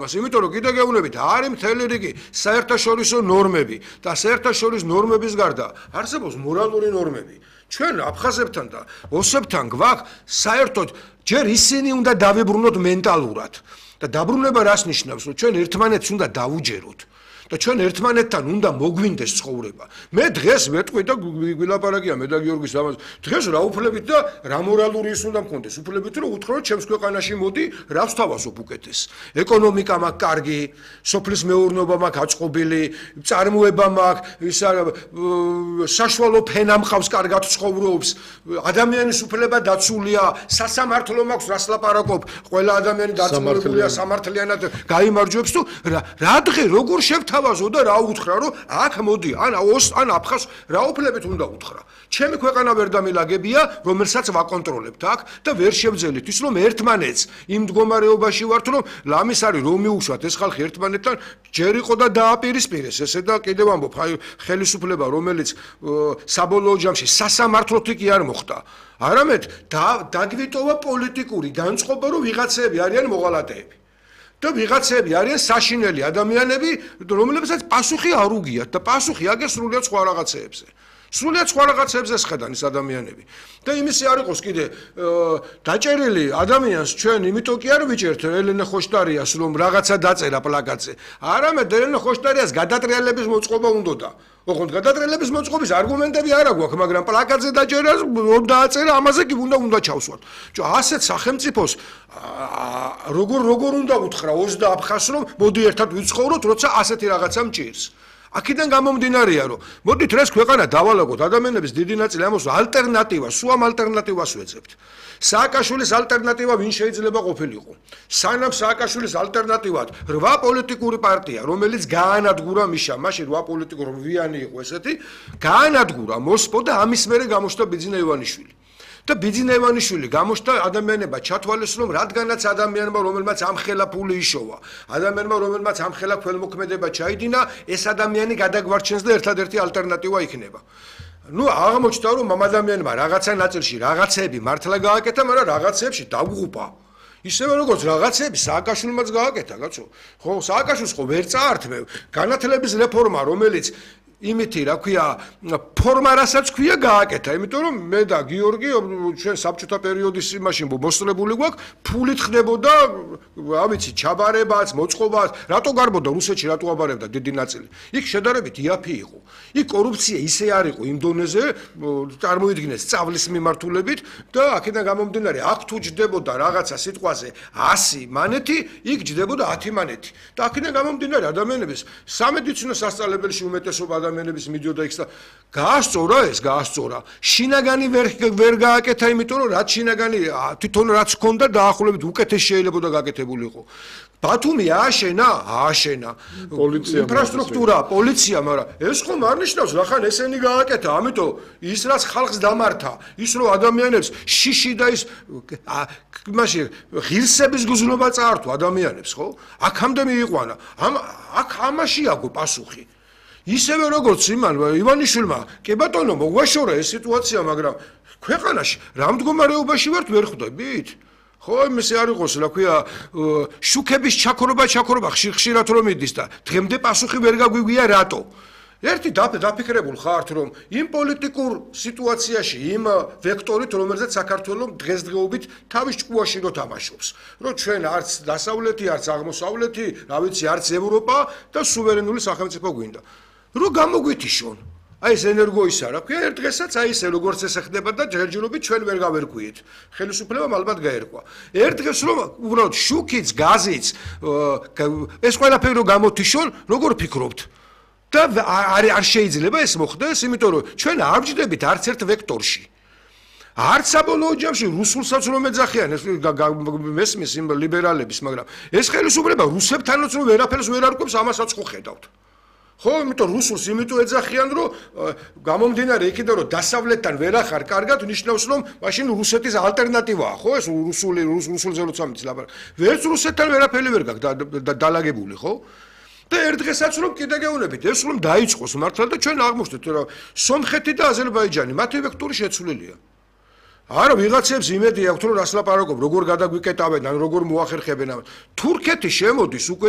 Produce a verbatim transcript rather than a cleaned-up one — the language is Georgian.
იმიტომ რომ კიდე გეუბნებით, არის მთელი რიგი საერთაშორისო ნორმები და საერთაშორისო ნორმების გარდა არსებობს მორალური ნორმები. ჩვენ აფხაზებთან და ოსებთან გვაქვს საერთოდ ჯერ ისინი უნდა დავიბრუნოთ მენტალურად და დაბრუნება რას ნიშნავს, რომ ჩვენ ერთმანეთს უნდა დავუჯეროთ. და ჩვენ ერთმანეთთან უნდა მოგვინდეს ცხოვრება. მე დღეს მეტყვი და გვილაპარაკია მე და გიორგის ამას. დღეს რა უფლებით და რა მორალური ის უნდა მქონდეს. უფლებით რომ უთხროთ ჩემს ქვეყანაში მოდი, რას თავასობ უკეთეს. ეკონომიკა მაქვს კარგი, სოფლის მეურნეობა მაქვს აწყობილი, წარმოება მაქვს, ისა საშუალო ფენა მყავს, კარგად ცხოვრობს, ადამიანის უფლება დაცულია, სასამართლო მაქვს, რას ლაპარაკობ, ყველა ადამიანი დაწმუნებულია სამართლიანად გაიმარჯვებს თუ რა დღე როგორ შევთ ვაზო და რა უთხრა რომ აქ მოდი ან ოს ან აფხაზ რა უფლებით უნდა უთხრა. ჩემი ქვეყანა ვერ დამილაგებია, რომელსაც ვაკონტროლებთ აქ და ვერ შევძელით ის რომ ერთმანეთს იმ მდგომარეობაში ვართ რომ ლამის არის რომ მიუშვათ ეს ხალხი ერთმანეთთან ჯერ იყო და დააპირისპირეს ესე და კიდევ ამბობ ხელისუფლება რომელიც საბოლოო ჯამში სასამართლოთი კი არ მოხდა. არამედ დაგვიტოვა პოლიტიკური განწყობა რომ ვიღაცები არიან მოღალატეები. და ვიღაცები არიან საშინელი ადამიანები, რომლებსაც პასუხი არ უგიათ და პასუხი აგერ სრულიად სხვა რაღაცეებზე. სრულიად სხვა რაღაცეებზე შეხედან ის ადამიანები. და იმისი არ იყოს კიდე დაჭერილი ადამიანს ჩვენ იმიტომ კი არ ვიჭერთ ელენე ხოშტარიას რომ რაღაცა დაწერა პლაკატზე. არამედ ელენე ხოშტარიას გადატრიალების მოწყობა უნდოდა. ოღონდ გადატრიალების მოწყობის არგუმენტები არ აქვს, მაგრამ პლაკატზე დაჭერას რომ დააწერა, ამაზე კი უნდა უნდა ჩავსვათ. ჯო ასეთ სახელმწიფოს როგორ როგორ უნდა უთხრა ოს და აფხაზს რომ მოდი ერთად ვიცხოვროთ, როცა ასეთი რაღაცა მჭირს. აქედან გამომდინარეა რომ მოდით ეს ქვეყანა დავალაგოთ ადამიანების დიდი ნაწილი ამას ალტერნატივა, სულ ამ ალტერნატივას ვეძებთ. სააკაშვილის ალტერნატივა ვინ შეიძლება ყოფილიყო? სანამ სააკაშვილის ალტერნატივად რვა პოლიტიკური პარტია, რომელიც გაანადგურა მიშა, მაშინ რვა პოლიტიკური ვიანი იყო ესეთი, გაანადგურა მოსპო და ამის მერე გამოჩნდა ბიძინა ივანიშვილი. და ბიძინა ივანიშვილი გამოჩნდა ადამიანებმა ჩათვალეს რომ რადგანაც ადამიანმა რომელმაც ამხელა ფული იშოვა, ადამიანმა რომელმაც ამხელა ქველმოქმედება ჩაიდინა, ეს ადამიანი გადაგვარჩენს და ერთადერთი ალტერნატივა იქნება. ნუ აღმოჩნდა რომ ამ ადამიანმა რაღაცა ნაწილში რაღაცები მართლა გააკეთა, მაგრამ რაღაცებში დაგუყა. ისევე როგორც რაღაცები სააკაშვილმაც გააკეთა, კაცო. ხო, სააკაშვილს ხო ვერ წაართმევ. განათლების რეფორმა, რომელიც იმითი რა ქვია ფორმა რასაც ქვია გააკეთა, იმიტომ რომ მე და გიორგი ჩვენ საბჭოთა პერიოდის იმაში მოსწრებული გვაქვს, ფულით ხდებოდა, რა ვიცი, ჩაბარებაც, მოწყობაც, რატო გარბოდა რუსეთში, რატო აბარებდა დიდი ნაწილი. იქ შედარებით იაფი იყო. იქ კორუფცია ისე არ იყო იმ დონეზე, წარმოიდგინეს სწავლის მიმართულებით და აქედან გამომდინარე, აქ თუ ჯდებოდა რაღაცა სიტყვაზე ასი მანეთი, იქ ჯდებოდა ათი მანეთი. და აქედან გამომდინარე ადამიანების სამედიცინო სასწავლებელში უმეტესობა ადამიანების მიდიოდა იქ და გაასწორა ეს, გაასწორა. შინაგანი ვერ ვერ გააკეთა, იმიტომ რომ რაც შინაგანი თვითონ რაც ჰქონდა დაახლოებით უკეთეს შეიძლება და გაკეთებულიყო. ბათუმი ააშენა, ააშენა. პოლიცია, ინფრასტრუქტურა, პოლიცია, მაგრამ ეს ხომ არ ნიშნავს, რახან ესენი გააკეთა, ამიტომ ის რაც ხალხს დამართა, ის რომ ადამიანებს შიში და ის მაშინ ღირსების გზნობა წაართვა ადამიანებს, ხო? აქამდე მიიყვანა. ამ აქ ამაში აგო პასუხი. ისევე როგორც იმან ივანიშვილმა, კი ბატონო, მოგვაშორა ეს სიტუაცია, მაგრამ ქვეყანაში რა მდგომარეობაში ვართ ვერ ხვდებით? ხო, იმისი არ იყოს, რა ქვია, შუქების ჩაქრობა, ჩაქრობა ხშირ-ხშირად რომ მიდის და დღემდე პასუხი ვერ გაგვიგვია რატო? ერთი დაფიქრებულ ხართ, რომ იმ პოლიტიკურ სიტუაციაში, იმ ვექტორით, რომელზეც საქართველოს დღესდღეობით თავის ჭკუაში რო თამაშობს, რომ ჩვენ არც დასავლეთი, არც აღმოსავლეთი, რა ვიცი, არც ევროპა და სუვერენული სახელმწიფო გვინდა. რო გამოგვითიშონ. აი ეს ენერგოისა, რა ქვია, ერთ დღესაც აი ესე როგორც ესე ხდება და ჯერჯერობით ჩვენ ვერ გავერკვიეთ. ხელისუფლებამ ალბათ გაერკვა. ერთ დღეს რომ უბრალოდ შუქიც, გაზიც, ეს ყველაფერი რო გამოთიშონ, როგორ ფიქრობთ? და არ არ შეიძლება ეს მოხდეს, იმიტომ რომ ჩვენ არ ვჯდებით არც ერთ ვექტორში. არც საბოლოო ჯამში რუსულსაც რომ ეძახიან, ეს მესმის იმ ლიბერალების, მაგრამ ეს ხელისუფლება რუსებთანაც რომ ვერაფერს ვერ არკვევს, ამასაც ხო ხედავთ. ხო, იმიტომ რუსულს იმიტომ ეძახიან, რომ გამომდინარე იქიდან რომ დასავლეთთან ვერ ახარ კარგად, ნიშნავს რომ მაშინ რუსეთის ალტერნატივაა, ხო, ეს რუსული რუსულზე როცა მის ლაპარაკ. ვერც რუსეთთან ვერაფერი ვერ გაქვს დალაგებული, ხო? და ერთ დღესაც რომ კიდე გეუბნებით, ეს რომ დაიწყოს მართლა და ჩვენ აღმოჩნდეთ, რომ სომხეთი და აზერბაიჯანი მათი ვექტორი შეცვლილია. არა, ვიღაცებს იმედი აქვთ, რომ რას ლაპარაკობ, როგორ გადაგვიკეტავენ, ან როგორ მოახერხებენ. თურქეთი შემოდის უკვე და